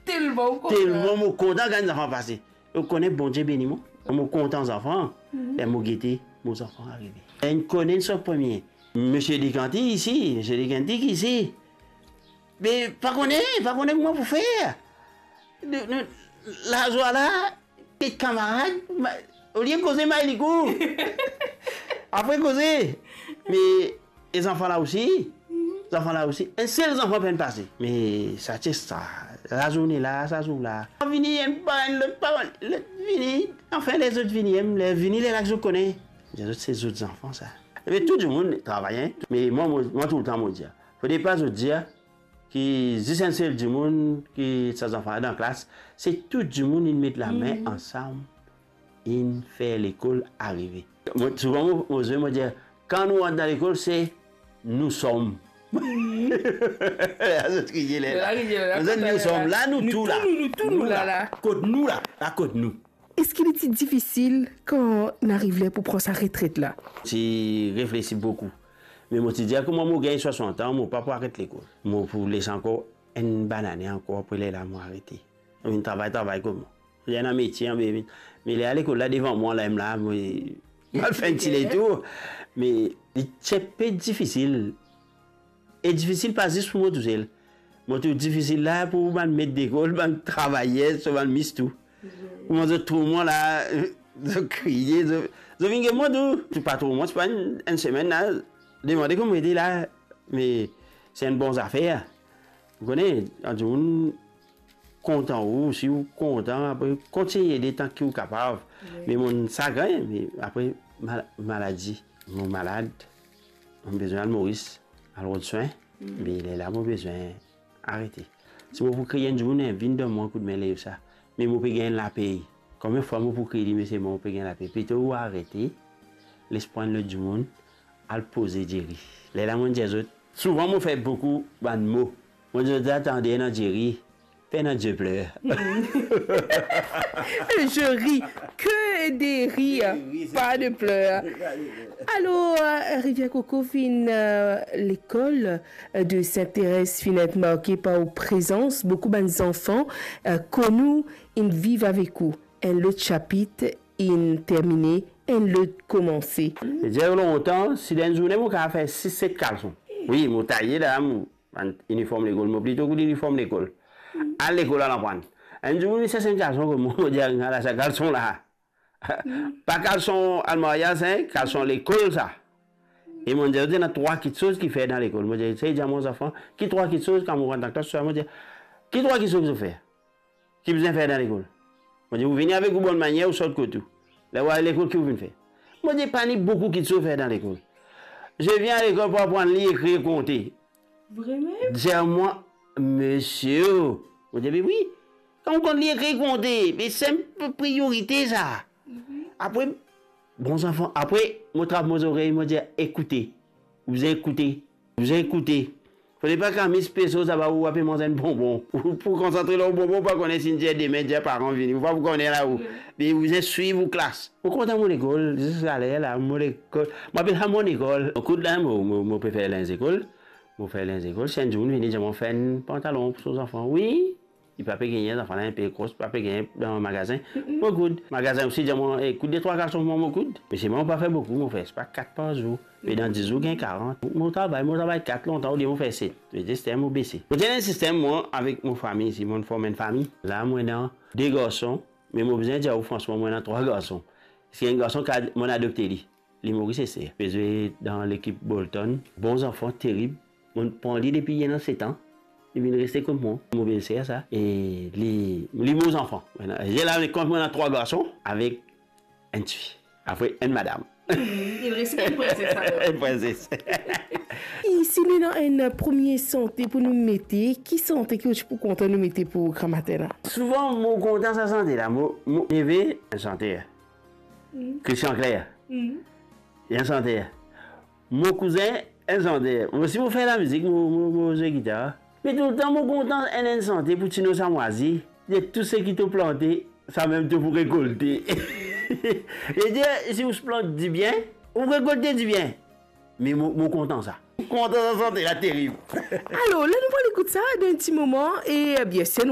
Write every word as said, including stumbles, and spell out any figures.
Telman ou kontan. Telman mo kontan kan zanfan pase. Ou kone Bondie beni mwa. Mo kontan zanfan. Mhm. E mo gete mo zanfan arive. Enn kone enn sot premie. Misie Dekanti isi, Misie Dekanti isi. Me pa kone, pa kone kouma pou fer. Nou, nou, lazwa la, tet kamarad, ma-, olie koze may likou. Apre koze. Me e zanfan la osi, zanfan la osi, enn sel zanfan pa'nn pase. Me sa ti sa, lazourne la, sa zour la. Vini enn par enn, lot par lot, vini, anfin lezot vini, em, le, vini lerla ki zot kone. Lezot se zot zanfan sa. Me tou dimoun travay, en. Me mwa, mwa, mwa toultan mo dir, fode pa zot dir ki zis enn sel dimoun ki sa zanfan la dan klas, se tou dimoun inn met lame ansam, inn fer lekol arive. Mo, souvan mo, mo zwe, mo dir, kan nou rant dan lekol, se nou som. Zot kriye lerla. Zot kriye lerla. Mo dir, nou som la, nou tou la. Nou tou, nou, nou tou, nou la, la. Kot nou la, la kot nou. Eski li ti difisil kan ariv ler pou pran sa retret la? Ti reflesi boukou. Me mo ti dir, kouma mo gagn swasant an, mo pa pou aret lekol. Mo pou les ankor enn bann ane ankor, apre lerla mo arete. Mo vinn travay, travay kouma. Li ena metie, an be vinn. Me li al lekol la devan mwa, la mem la, mo, mo al fer enn ti letour. Me li ti pe difisil. E difisil pa zis pou mo tousel. Mo trouv difisil la pou bann met lekol, bann travayer, so bann mis tou. Kouma zot trouv mwa la, zot kriye, zot, zot vinn get mwa tou. Ti pa trouv mwa, ti pa enn, enn semenn la, demande kouma ete la, me se enn bon zafer. Ou kone, kan dimoun kontan ou, si ou kontan, apre kontign ede tan ki ou kapav. Wi. Me mo sagrin, me apre mal-, maladi, mo malad, mo bizin al Moris, al rod swin, me lerla mo bizin arete. Si mo pou kriy enn dimoun, vinn donn mwa koudme lev sa, me mo pe gagn lapey. Konbien fwa mo pou kriy li, me selman mo pe gagn lapey. Plito ou arete, les pran lot dimoun, al poze Jerry. Lerla mo dir zot, souvan mo fer boukou bann mo. Mo dir zot, tande ena Jerry, pena de pleur. Je ris, que des rires, pas de pleurs. Alor, euh, Rivière Coco finn, euh, lekol, euh, de Sainte-Thérèse finn et marke par ou prezans, boukou bann zanfan, euh, konn ou, inn viv avek ou. Enn lot sapit inn termine, enn lot koumanse. Dir lontan, si dan enn zourne mo kapav fer sis, set kalson. Wi, mo taye la, mo, bann iniform lekol, mo plito kout iniform lekol. Al lekol, al aprann. Enn zour, mo sers enn kalson, mo, mo dir, ala sa kalson la. Pa kalson al maryaz, en, kalson lekol sa. E mo dir, ena trwa kitsoz ki fer dan lekol. Mo dir, sey dir mo zanfan, ki trwa kitsoz, kan mo rant dan klas, mo dir, ki trwa kitsoz ki zot fer? Ki bizin fer dan lekol? Mo dir, ou vini avek ou bonn manier, ou sort kot ou. Ler ou al lekol, ki ou vinn fer? Mo dir, pa ni boukou kitsoz fer dan lekol. Je vien à l'école pour apprendre lire, écrire, compter. Vremem? Dir mwa, misie, mo dir, be wi, kan ou konn lir, ekrir, konte, be se enn priorite sa. Apre, bon zanfan, apre, mo trap mo zorey, mo dir, ekoute. Ou bizin ekoute. Ou bizin ekoute. Fode pa kan mis peso, sa va ou ape manz enn bonbon. Ou pou konsantre lor bonbon, ou pa kone si dir demin, dir paran vini. Ou pa pou kone la ou. Be ou bizin swiv ou klas. Mo kontan mo lekol, ziska ler la, mo lekol. Mo apel sa mo lekol. Mo kout la, mo, mo, mo pe fer linz lekol. Mo fer linz lekol, si enn dimoun vini dir mwa fer enn pantalon pou so zanfan. Wi, li pa pe gagn, zanfan la inpe gro, pa pe gagn dan magazin. Mo koud. Magazin osi dir mwa, eh, koud de trwa kalson pou mwa, mo koud. Me selman mo pa fer boukou, mo fer, se pa kat par zour. Me dan dis zour, gagn karant. Mo travay, mo travay kat lontan, olie mo fer set. Me zis mo bese. Mo ti ena enn sistem, mwa, avek mo fami, si mo form enn fami. La, mo ena de garson, me mo bizin dir ou fransman, mo ena trwa garson. Parski enn garson, kad, mo adopte li. Li mor, se, se. Pe zwe dan lekip Bolton. Bon zanfan, terib. Mo pran li depi li ena set an. Li vinn reste kot mwa. Mo bel ser sa. E li, li mo zanfan. Mintnan, la, kan mo ena trwa garson avek enn tifi. Apre, enn madam. Hmm, li reste enn prinses, alor. Enn prinses. E si nou ena enn premie sante pou nou mete, ki sante ki ou ti pou kontan nou mete pou gramatin la? Souvan, mo kontan sa sante la. Mo, mo neve, enn santer. Christian Clair. Li enn santer. Mo kouzin, enn santer. Mo osi mo fer lamizik, mo, mo, mo zwe gitar. Me toultan mo kontan enn, enn sante pou Tino Samwazi. Dir tou seki to plante, samem to pou rekolte. Li dir, si ou plant dibien, ou rekolte dibien. Me mo, mo kontan sa. Kontan sa sante la, terib. Alor, la nou pou al ekout sa dan enn ti moman e, eh bien, si nou